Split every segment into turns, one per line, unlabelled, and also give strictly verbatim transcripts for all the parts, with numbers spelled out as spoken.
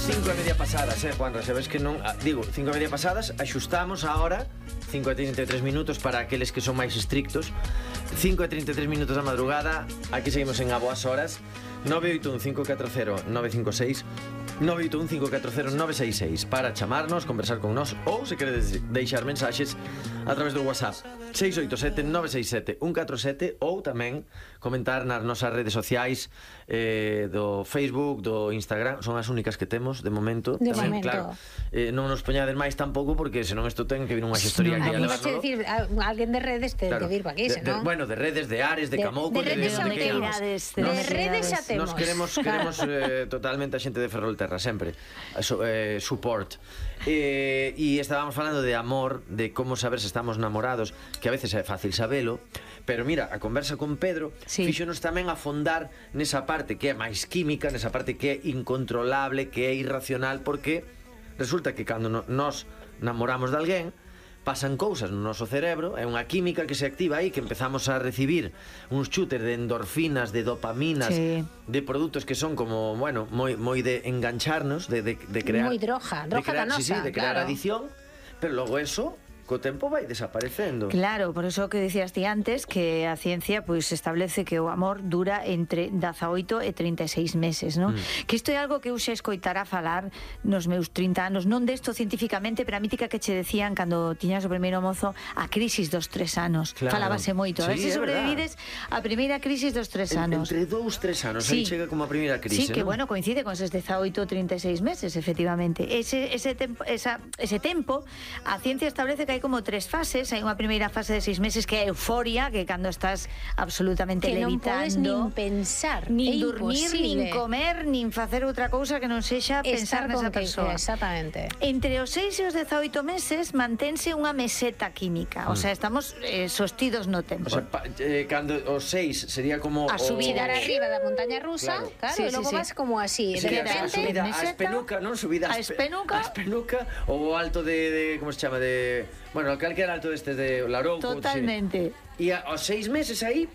Cinco e media pasadas, eh, Juanra, sabes que non... ah, Digo, cinco e media pasadas, axustamos a hora cinco e trinta e tres minutos para aqueles que son máis estrictos. Cinco e trinta e tres minutos da madrugada. Aquí seguimos en A Boas Horas. Nove oito un cinco catro cero nove cinco seis nove oito un cinco catro cero nove seis seis para chamarnos, conversar con nós, ou se queredes deixar mensaxes a través do WhatsApp seis oito sete nove seis sete un catro sete, ou tamén comentar nas nosas redes sociais, eh, do Facebook, do Instagram. Son as únicas que temos de momento.
De
tamén,
momento.
claro, eh, non nos poñades máis tampouco, porque senón isto ten que vir unha gestoría
No,
que
no,
a
vas a
levarlo.
decir, a- alguén de redes te
Claro,
de vir pa aquí,
de- de-
senón.
bueno, de redes, de Ares, de,
De-
Camouco,
de redes xa
onde queiramos.
Unidades,
De
Nos-
redes xa temos.
Nos queremos, queremos eh, totalmente a xente de Ferrolterra, sempre so, eh, support. eh, E estábamos falando de amor, de como saber se estamos namorados, que a veces é fácil sabelo, pero mira, a conversa con Pedro
Sí.
fíxonos tamén afondar nesa parte que é máis química, nesa parte que é incontrolable, que é irracional, porque resulta que cando no, nos namoramos de alguén, pasan cousas no noso cerebro, é unha química que se activa aí, que empezamos a recibir uns chutes de endorfinas, de dopaminas,
Sí.
de produtos que son como, bueno, moi moi de engancharnos, de, de, de crear...
Moi droga,
de
droga
crear,
danosa,
sí, sí, de crear
claro.
adicción, pero logo eso, co tempo vai desaparecendo.
Claro, por eso que decías ti antes, que a ciencia pois establece que o amor dura entre dezaoito e trinta e seis meses, non? Mm. Que isto é algo que eu xa escoitara falar nos meus trinta anos, non desto científicamente, pero a mítica que che decían cando tiñas o primeiro mozo, a crisis dos tres anos.
Claro.
Falábase moito, a ver
Sí,
se
é
sobrevivides a primeira crisis dos tres
En-
anos.
Entre dous, tres anos, aí
Sí.
chega como a primeira crise,
Sí, que
non?
bueno, coincide con esos dezaoito, trinta e seis meses, efectivamente. Ese, ese, tempo, esa, ese tempo, a ciencia establece que hai como tres fases. Hai unha primeira fase de seis meses que é euforia, que cando estás absolutamente
Que non podes
levitando,
nin pensar,
nin
é
dormir,
imposible.
nin comer, nin facer outra cousa que non sexa pensar
Estar con
nesa
que-
persoa.
Exactamente.
Entre os seis e os dezaoito meses mantense unha meseta química, o sea, estamos eh, sostidos no tempo.
O sea, pa, eh, cando os seis sería como
A
o-
subida
Chegar arriba da montaña rusa,
Claro.
claro,
Sí,
e logo
sí, sí.
vas como así,
Sí,
de
a
repente.
subida a
meseta,
espenuca, non? Subida
a
espe-
espenuca.
a espenuca, ou o alto de, de como se chama, de, bueno, calquera alto destes de Larouco.
Totalmente.
E aos seis meses aí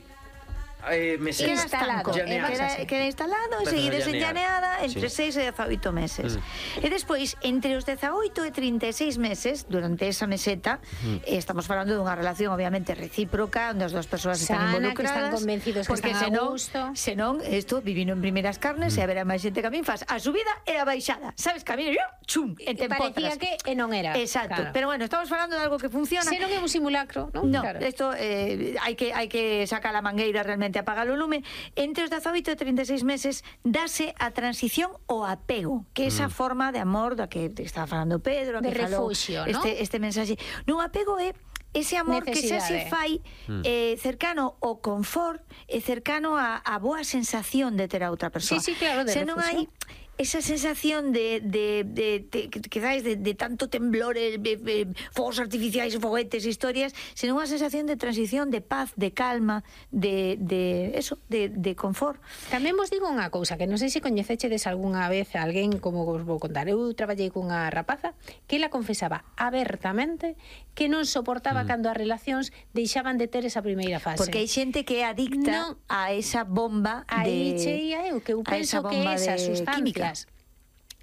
eh, meses.
Queda
Instalado,
estanco,
e vas
queda,
así.
queda instalado e
Empezas a
seguides
llanear.
enllaneada entre
Sí.
seis e dezaoito meses. E despois, entre os dezaoito e trinta e seis meses, durante esa meseta, eh, estamos falando dunha relación obviamente recíproca, onde as dúas persoas están
Sana, que
involucradas,
están convencidos que
porque
están a
senón,
gusto.
senón, isto vivino en primeiras carnes, e haberá máis xente que a min faz a subida e a baixada, sabes, camino, chum, e te
Parecía
empotras.
que e non era.
Exacto,
Claro.
pero bueno, estamos falando de algo que funciona.
Se non é un simulacro, non?
No,
Claro.
esto eh, hai que hai que sacar a mangueira, realmente apagar o lume. Entre os dezaoito e trinta e seis meses dase a transición ao apego, que é esa forma de amor da que te estaba falando Pedro, a
De
que falou
refuxio, ¿no?
este este mensaxe. Non, apego é ese amor que xa se
Necesidade.
fai eh, cercano ao confort e cercano a, a boa sensación de ter a outra persoa.
Sí, sí, claro, de
Se non hai
refuxio.
esa sensación de, de, de, de que quedáis de, de tanto temblor, eh, eh, fogos artificiais, foguetes, historias, senón unha sensación de transición, de paz, de calma, de, de eso, de, de confort.
Tamén vos digo unha cousa, que non sei se coñecechedes algunha vez a alguén, como vos vou contar. Eu traballei cunha rapaza que ela confesaba abertamente que non soportaba cando as relacións deixaban de ter esa primeira fase.
Porque hai xente que é adicta
Non.
a esa bomba
Aí
de...
cheia eu, que eu
a esa
penso que
bomba
esas
de
sustancias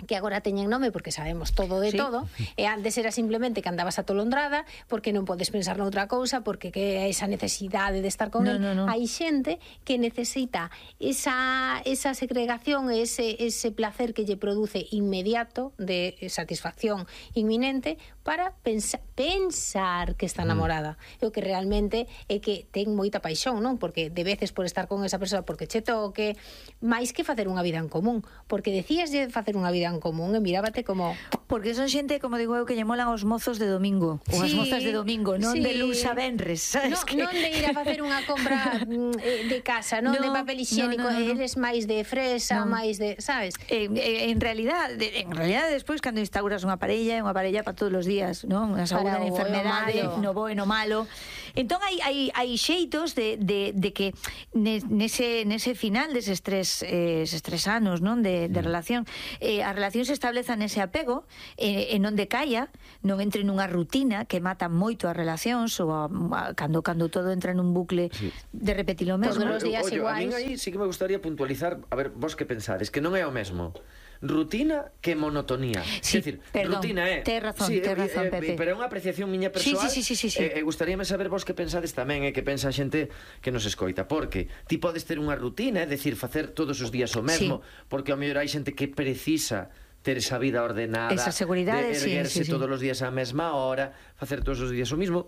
que agora teñen nome porque sabemos todo de
Sí.
todo, e antes era simplemente que andabas atolondrada porque non podes pensar noutra cousa, porque que esa necesidade de estar con
No,
el.
no, no.
Hai xente que necesita esa, esa segregación, ese, ese placer que lle produce inmediato, de satisfacción inminente, para pensa, pensar que está namorada. E o que realmente é que ten moita paixón, non? Porque de veces por estar con esa persoa, porque che toque, máis que facer unha vida en común, porque decías de facer unha vida en común e mirábate como...
Porque son xente, como digo eu, que lle molan os mozos de domingo, ou as
Sí,
mozas de domingo, non
sí.
de luz a venres, sabes
No,
que...
non de ir a facer unha compra mm, eh, de casa, non
No,
de papel higiénico,
no, no, no, no.
eres máis de fresa,
No.
máis de, sabes?
En, en realidade, en realidade despois cando instauras unha parella, é unha parella para todos os días, non? A saúde,
Para
a
o bo e o
enfermedade,
malo.
no bo e no malo. Entón hai hai hai xeitos de, de, de que ne- nese nese final deses tres eh, eses tres anos, non, de, de relación, eh, a relación se estableza nese apego, e, e non decaia, non entre nunha rutina que mata moito as relacións, ou a, a, cando cando todo entra nun bucle
Sí.
de repetir o mesmo.
Todos os días
Ollo, a min
iguais.
aí sí que me gustaría puntualizar, a ver, vos que pensades, que non é o mesmo rutina que monotonía.
Sí,
é dicir,
perdón,
rutina é...
tes razón,
sí,
tes razón,
eh,
Pepe.
Pero é unha apreciación miña persoal.
Sí, sí, sí, sí, sí.
E eh, eh, gustaríame saber vos que pensades tamén, e eh, que pensa a xente que nos escoita, porque ti podes ter unha rutina, é dicir, facer todos os días o mesmo, sí. Porque ao mellor hai xente que precisa ter esa vida ordenada,
esa seguridade,
de erguerse
sí, sí, sí.
todos os días á mesma hora, facer todos os días o mismo,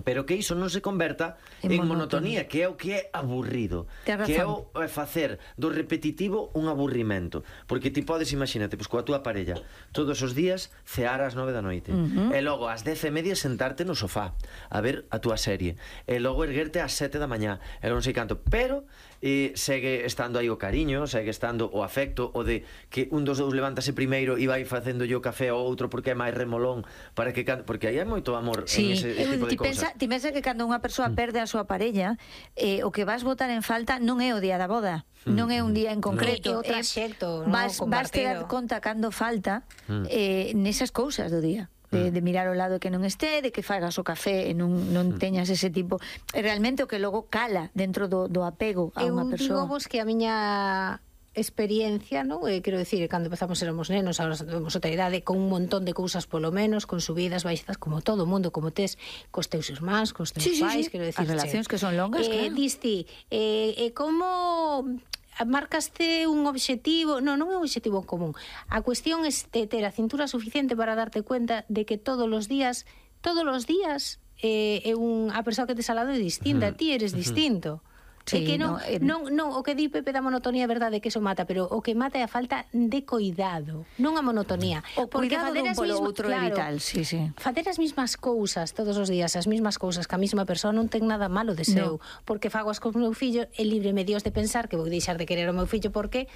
pero que iso non se converta en, en monotonía, que é o que é aburrido, que é o é facer do repetitivo un aburrimento, porque ti podes, imagínate, pois coa túa parella todos os días cear ás nove da noite, uh -huh. e logo ás dez e media sentarte no sofá a ver a túa serie, e logo erguerte ás sete da mañá, e non sei canto, pero e segue estando aí o cariño, segue estando o afecto, o de que un dos dous levántase primeiro e vai facendo yo café ao outro porque é máis remolón, para que porque aí hai moito amor
sí.
en ese tipo de cousas.
Ti pensa que cando unha persoa perde a súa parella, eh, o que vas botar en falta non é o día da boda, mm. non é un día en concreto,
no. É o traxecto,
eh, vas,
no,
vas te dar conta cando falta mm. eh, nesas cousas do día. De, de mirar ao lado que non este, de que fagas o café e non, non teñas ese tipo, é realmente o que logo cala dentro do, do apego a unha persoa.
Eu digo vos que a miña experiencia, non? Eh, quero decir, cando empezamos éramos nenos, agora temos outra idade, con un montón de cousas polo menos, con subidas, baixadas, como todo o mundo, como tes cos teus irmáns, cos teus
sí,
pais,
sí, sí.
quero decir,
as relacións que son longas,
eh,
claro.
Disti, eh, eh, como marcaste un obxectivo, non, non é un obxectivo común. A cuestión é ter a cintura suficiente para darte cuenta de que todos os días, todos os días eh, é un, a persoa que tes al lado é distinta, uh -huh. ti eres distinto. Sí, é que non, no, eh... non, non, o que di Pepe da monotonía é verdade que eso mata, pero o que mata é a falta de coidado, non a monotonía.
O cuidado dun polo outro é vital, sí, sí.
Facer as mismas cousas todos os días, as mismas cousas que a mesma persoa non ten nada malo de seu, no. Porque fago as cos meu fillo, é libre-me Dios de pensar que vou deixar de querer o meu fillo porque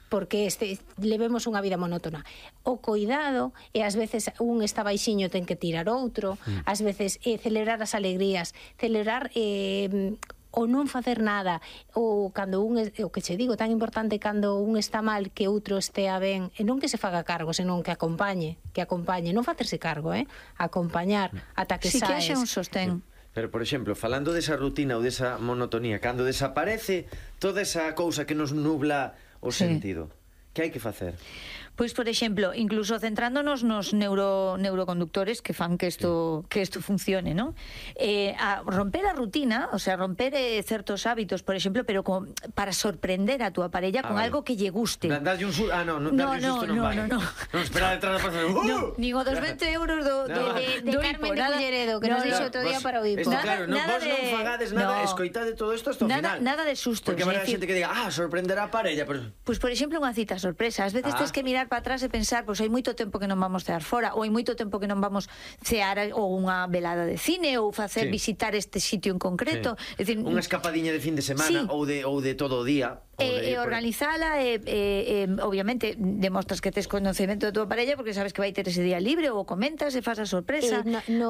porque este, levemos unha vida monótona. O coidado, e ás veces un está baixiño ten que tirar outro, mm. ás veces eh, celebrar as alegrías, celebrar eh, ou non facer nada, ou cando un, o que che digo, tan importante cando un está mal que outro estea ben, e non que se faga cargo, senón que acompañe, que acompañe, non facerse cargo, eh? Acompañar ata que
si
saes.
Si que haxe un sostén.
Pero, por exemplo, falando desa rutina ou desa monotonía, cando desaparece toda esa cousa que nos nubla o sí. sentido, que hai que facer?
Pois, por exemplo, incluso centrándonos nos neuro, neuroconductores que fan que isto que isto funcione, ¿no? Eh, a romper a rutina, o sea, romper eh, certos hábitos, por exemplo, pero con, para sorprender a túa parella con ah, algo que lle guste.
Darlle un susto, ah, no, no,
no,
darlle
no,
susto non
no,
vai.
no, no.
Non espera detrás da persona. Uh!
No, nin o dos vinte euros do,
no.
de, de,
de, de
do
Carmen
hipo,
de
nada,
Culleredo, que
no,
nos dixo
no,
outro día
vos,
para o hipo.
Esto,
Nada,
claro, no,
nada
vos
de...
non fagades nada,
no.
escoitade todo isto hasta o
nada,
final.
Nada de sustos.
Porque habrá
decir,
xente que diga, ah, sorprenderá a parella, pero...
Pois, por exemplo, unha cita sorpresa. Ás veces ah. tens que mirar para atrás e pensar, pois hai moito tempo que non vamos cear fora, ou hai moito tempo que non vamos cear ou unha velada de cine ou facer sí. visitar este sitio en concreto,
sí.
é dicir,
unha escapadinha de fin de semana sí. ou de ou de todo o día.
E, e organizala e, e, e obviamente demostras que tes conocemento de tua parella porque sabes que vai ter ese día libre ou comentas e fas a sorpresa.
Eh, no, no,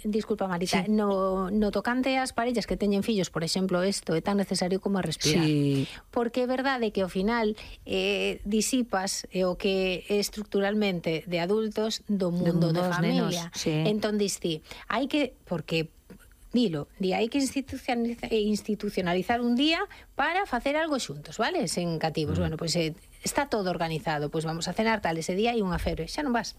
disculpa Marita, sí. no, no tocante ás parellas que teñen fillos, por exemplo, isto é tan necesario como a respirar.
Sí.
Porque é verdade que ao final eh, disipas eh, o que é estructuralmente de adultos do mundo de, de familia.
Nenos, sí.
Entón diste, hai que, porque dilo, di, hai que institucionalizar, institucionalizar un día para facer algo xuntos, vale? Sen cativos. Mm. Bueno, pois pues, eh, está todo organizado, pois pues vamos a cenar tal, ese día hai unha febre, xa non vas.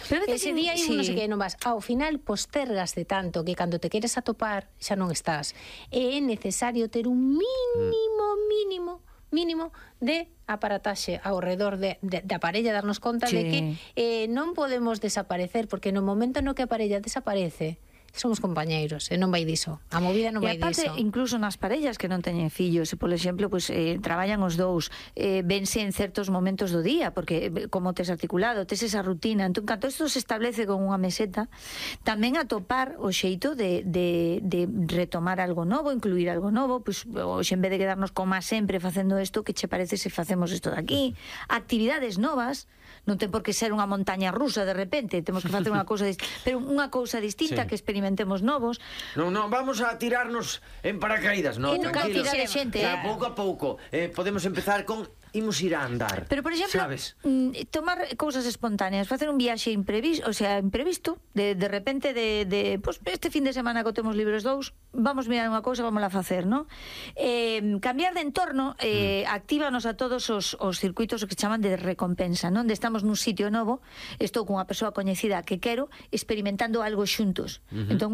Pero ese día hai sí. un non sei que non vas. Ao final postergaste tanto que cando te queres atopar xa non estás. E é necesario ter un mínimo, mínimo mínimo de aparataxe ao redor de, de, da parella, darnos conta sí. de que eh, non podemos desaparecer, porque no momento no que a parella desaparece somos compañeiros, e non vai diso. A movida non vai diso.
E aparte, incluso nas parellas que non teñen fillos, e, por exemplo, pues, eh, traballan os dous, eh, vense en certos momentos do día, porque como tes articulado, tes esa rutina. Entón, cando isto se establece con unha meseta, tamén atopar o xeito de, de, de retomar algo novo, incluir algo novo, pues, hoxe en vez de quedarnos como sempre facendo isto, que che parece se facemos isto de aquí? Actividades novas, non ten por que ser unha montaña rusa de repente, temos que facer unha cousa pero unha cousa distinta sí. que experimentemos novos.
Non, non, vamos a tirarnos en paracaídas, non,
tranquilos.
Xente, o sea, pouco a pouco. Eh, podemos empezar con imos ir a andar.
Pero, por exemplo,
sabes?
Mm, tomar cousas espontáneas, facer un viaxe imprevisto, o sea, imprevisto, de, de repente, de, de pues, este fin de semana que temos libres dous, vamos mirar unha cousa, vamos a facer, ¿no? Eh, cambiar de entorno eh, mm. actívanos a todos os, os circuitos que chaman de recompensa, non? De estamos nun sitio novo, estou cunha persoa coñecida que quero, experimentando algo xuntos. Uh -huh. Entón,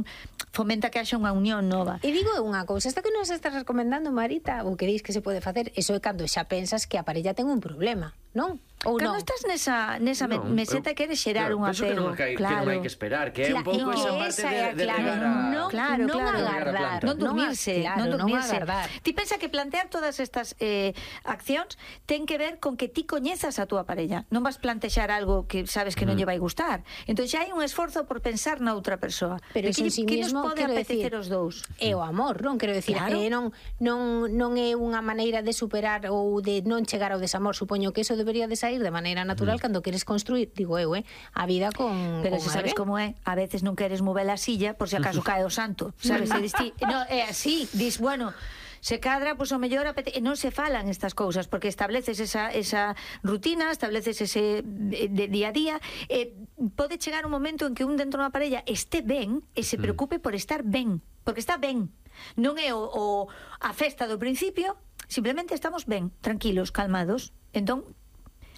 fomenta que haxa unha unión nova.
E digo unha cousa, isto que nos estás recomendando, Marita, o que dis que se pode facer, eso é cando xa pensas que a parella ten un problema, non? Ou
Cando
non?
estás nesa, nesa no, meseta e queres xerar
claro,
un apego,
que non hai,
claro.
Que non hai que esperar, que é un pouco
no,
esa parte
esa
de, de
claro,
regar a...
non,
claro,
non
claro,
agardar,
non dormirse,
claro,
non dormirse.
Non agardar.
Ti pensa que plantear todas estas eh, accións ten que ver con que ti coñezas a túa parella. Non vas plantexar algo que sabes que non
Mm.
lle vai gustar. Entón xa hai un esforzo por pensar na outra persoa.
Pero
De que,
en sí
que nos
mismo,
pode
quero
apetecer
decir,
os dous.
É o amor, non? Quero decir,
Claro.
eh, non, non, non é unha maneira de superar ou de non chegar ao desamor. Supoño que eso debería de sair de maneira natural mm. cando queres construir, digo eu, eh, a vida con
Pero
con
se sabes
alguén.
como é, a veces non queres mover a silla por se acaso cae o santo, sabes? E dis ti, no, é así, dis, bueno, se cadra, pois pues, o mellor apete... e non se falan estas cousas, porque estableces esa, esa rutina, estableces ese de, de día a día, e pode chegar un momento en que un dentro da parella este ben e se preocupe por estar ben, porque está ben. Non é o, o a festa do principio, simplemente estamos ben, tranquilos, calmados. Entón,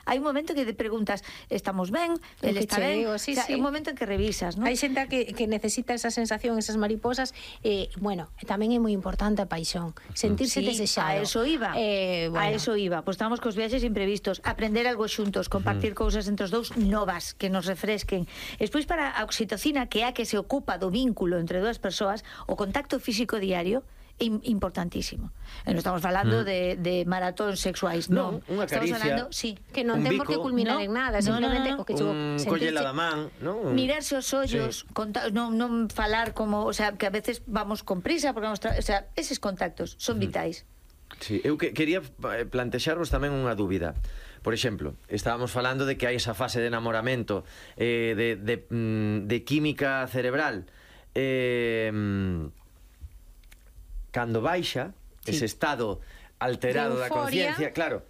hai un momento que te preguntas, estamos ben, el está ben,
digo, sí,
o sea,
sí.
é un momento en que revisas, ¿no?
Hai xente que, que necesita esa sensación, esas mariposas, eh, bueno, tamén é moi importante a paixón, sentirse
Sí,
desexado.
a eso iba.
Eh, bueno.
A eso iba. Pois estamos cos viaxes imprevistos, aprender algo xuntos, compartir uh -huh. cousas entre os dous novas que nos refresquen. Despois para a oxitocina, que é a que se ocupa do vínculo entre dúas persoas, o contacto físico diario é importantísimo. E non estamos falando mm. de, de maratóns sexuais, non.
Non, unha
estamos
caricia,
falando, sí,
que non ten por que culminar
no,
en nada,
no,
simplemente
no, no, no.
o que chegou
un
sentirse...
collela da man, non?
Mirarse os ollos, sí. conta, non, non falar como, o sea, que a veces vamos con prisa, porque vamos, o sea, eses contactos son vitais.
Sí, eu que, quería plantexarvos tamén unha dúbida. Por exemplo, estábamos falando de que hai esa fase de enamoramento, eh, de, de, de química cerebral. Eh, cando baixa, sí. ese estado alterado da conciencia, claro,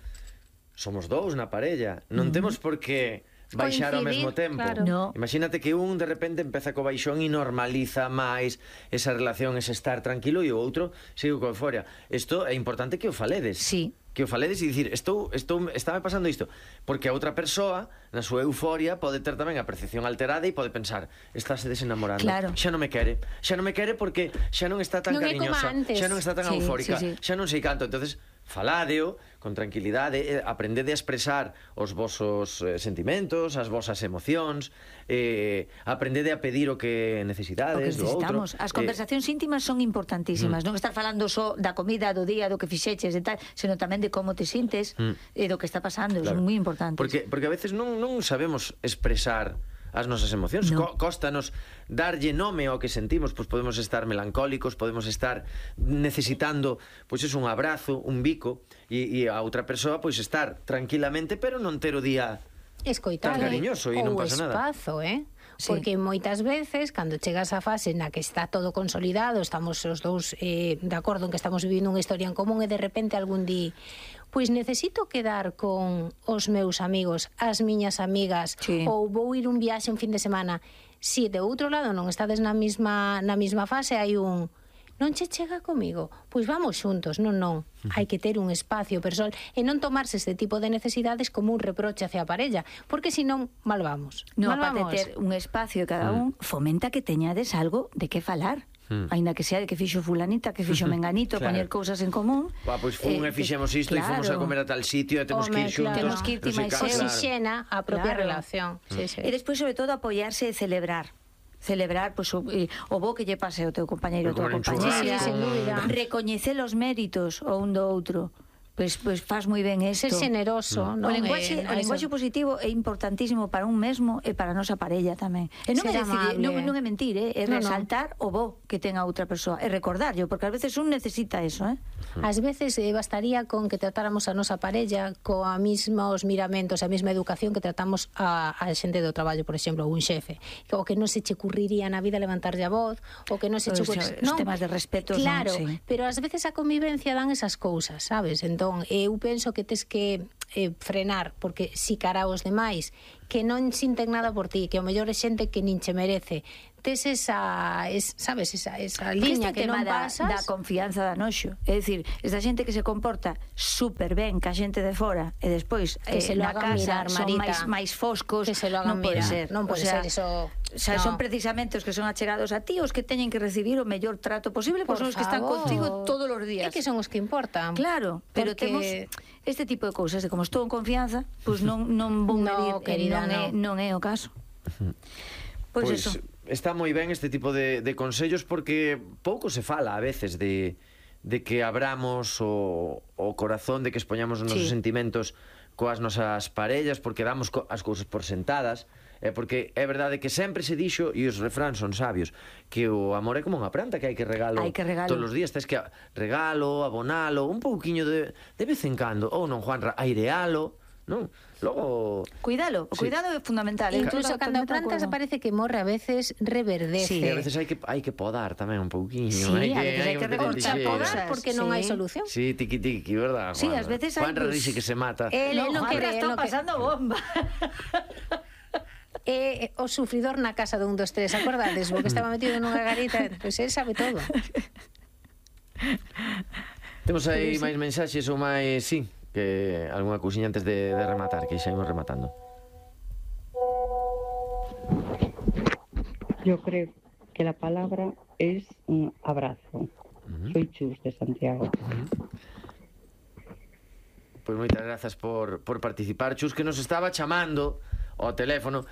somos dous na parella, non uh -huh. temos por que baixar ao mesmo tempo.
Claro.
No.
Imagínate que un de repente empeza co baixón e normaliza máis esa relación, ese estar tranquilo, e o outro sigue con euforia. Isto é importante que o faledes.
Sí.
Que o faledes e dicir, estou, estou, estáme pasando isto, porque a outra persoa na súa euforia pode ter tamén a percepción alterada e pode pensar, estáse desenamorando,
claro.
xa non me quere, xa non me quere porque xa non está tan
non
cariñosa, xa non está tan
sí,
eufórica,
sí, sí.
xa non sei canto. Entonces, faladeo con tranquilidade, aprendede a expresar os vosos eh, sentimentos, as vosas emocións, eh, aprendede a pedir o que necesitades,
o que necesitamos.
Do outro.
As conversacións eh, íntimas son importantísimas, mm. non estar falando só da comida, do día, do que fixeches e tal, senón tamén de como te sintes mm. e do que está pasando, claro. Son moi importantes.
Porque, porque a veces non, non sabemos expresar as nosas emocións, no. Co Cóstanos darlle nome ao que sentimos, pois podemos estar melancólicos, podemos estar necesitando, pois es un abrazo, un bico, e, e a outra persoa pois estar tranquilamente, pero non ter o día
escoitar,
tan cariñoso e non pasa nada.
O espazo, eh?
Sí.
Porque moitas veces, cando chegas á fase na que está todo consolidado, estamos os dous eh, de acordo en que estamos vivindo unha historia en común, e de repente algún di, pois necesito quedar con os meus amigos, as miñas amigas,
sí.
ou vou ir un viaxe un fin de semana. Si de outro lado non estades na mesma, na mesma fase, hai un... non che chega comigo, pois vamos xuntos, non, non. Hai que ter un espacio persoal e non tomarse este tipo de necesidades como un reproche hacia a parella, porque senón mal vamos.
No,
mal
aparte
vamos.
ter un espacio cada un, fomenta que teñades algo de que falar. Mm. Ainda que sea de que fixo fulanita, que fixo menganito, claro. Poñer cousas en común.
Bah, pois fun
eh,
e fixemos isto, claro. E fomos a comer a tal sitio e temos
Home,
que ir xuntos.
claro.
Temos que ir ti máis eu.
Oxixena a propia
Claro.
relación. Sí, sí.
E despois, sobre todo, apoiarse e celebrar. Celebrar, pois, o, eh, o bo que lle pase ao teu compañeiro ou tua compañera.
Sí, sin dúbida.
Recoñecer os méritos o un do outro. Pois, pois faz moi ben isto.
Ser generoso,
Mm.
non?
O lenguaxe,
Eh,
o lenguaxe positivo é importantísimo para un mesmo e para a nosa parella tamén. E non é
Ser
decir,
amable.
non, non é mentir, eh? É
No, no.
resaltar o bo que ten a outra persoa, e recordarlo, porque ás veces un necesita eso, eh?
Ás veces eh, bastaría con que tratáramos a nosa parella coa mesmos miramentos, a mesma educación que tratamos a, a xente do traballo, por exemplo, un xefe. O que non se che ocurriría na vida levantarlle a voz, o que non se che
Os,
ocurriría...
os temas de respeto,
claro,
non, sí.
pero ás veces a convivencia dan esas cousas, sabes? Entón, eu penso que tes que eh, frenar, porque si cara aos demais que non sinten nada por ti, que o mellor é xente que nin che merece, tes esa, es, sabes, esa, esa liña
este
que non
da,
pasas.
da confianza da noxo, é dicir, esta xente que se comporta super ben ca xente de fora e despois
que
eh,
se lo
na
hagan
casa
mirar,
son
Marita,
máis máis foscos,
que se lo hagan
non pode
mirar,
ser,
non pode
o sea,
ser eso.
O sea,
no.
son precisamente os que son achegados a ti, os que teñen que recibir o mellor trato posible, pois son os que están
favor.
contigo todos os días.
É que son os que importan.
Claro, pero
porque...
temos este tipo de cousas de como estou en confianza, pois non non vou
No,
medir,
querida,
non, é,
no.
non é o caso. Pois,
Pois
eso.
está moi ben este tipo de, de consellos porque pouco se fala a veces de, de que abramos o, o corazón, de que expoñamos os nosos
Sí.
sentimentos coas nosas parellas, porque damos co as cousas por sentadas, é porque é verdade que sempre se dixo, e os refráns son sabios, que o amor é como unha planta que hai que regalo,
Hai que regalo.
todos os días, tens que regalo, abonalo, un pouquiño de, de vez en cando, ou non, Juanra, airealo, non? Logo...
Cuidalo, o
Sí.
cuidado é fundamental. Eu
Incluso
estou
cando a
totalmente de
planta se
acordo.
parece que morre, a veces reverdece.
Sí,
E a veces hai que hai que podar tamén un pouquiño,
Sí,
hai
a veces hai que
meter
recortar
lixeira.
cosas.
porque non hai
Sí.
solución.
Sí, tiqui tiqui, verdad?
Sí,
Juanra?
ás veces hai,
Juanra
pues,
dixe que se mata.
El,
No,
el non
Juanra
quere, el
está
non quere.
pasando bomba.
É o sufridor na casa de un, dos, tres, acordades? O que estaba metido nunha garita, pois pues él sabe todo.
Temos aí máis mensaxes ou máis, sí, que algunha cousiña antes de, de rematar, que xa imos rematando.
Yo creo que la palabra es un abrazo.
Uh-huh.
Soy Chus de Santiago.
Pois moitas grazas por, por participar. Chus, que nos estaba chamando ao teléfono.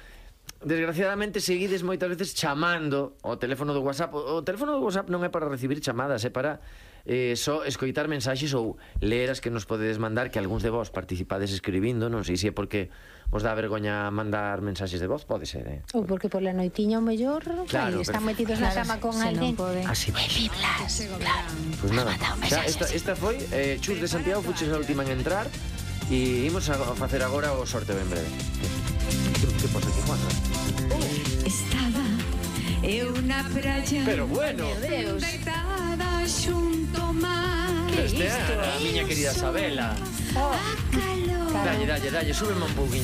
Desgraciadamente seguides moitas veces chamando ao teléfono do WhatsApp. O, o teléfono do WhatsApp non é para recibir chamadas, é para eh, só escoitar mensaxes ou ler as que nos podedes mandar, que algúns de vos participades escribindo. Non sei se é porque vos dá vergoña mandar mensaxes de voz, pode ser, eh?
Ou porque pola noitiña o mellor
Claro,
aí están
pero-
metidos na
Claro,
cama con
se non
alguén.
pode.
Así vai.
Biblas, claro.
Pois nada, xa, esta, esta foi eh, Chus de Santiago, fuches a última en entrar. E imos a facer agora o sorteo en breve. Que, que pasa aquí, Juan?
Estaba eu na praia,
Pero bueno,
Deus.
deitada xunto ao mar.
este é a miña querida Sabela.
A calor
Dalle, dalle, dalle, súbeme un pouquiño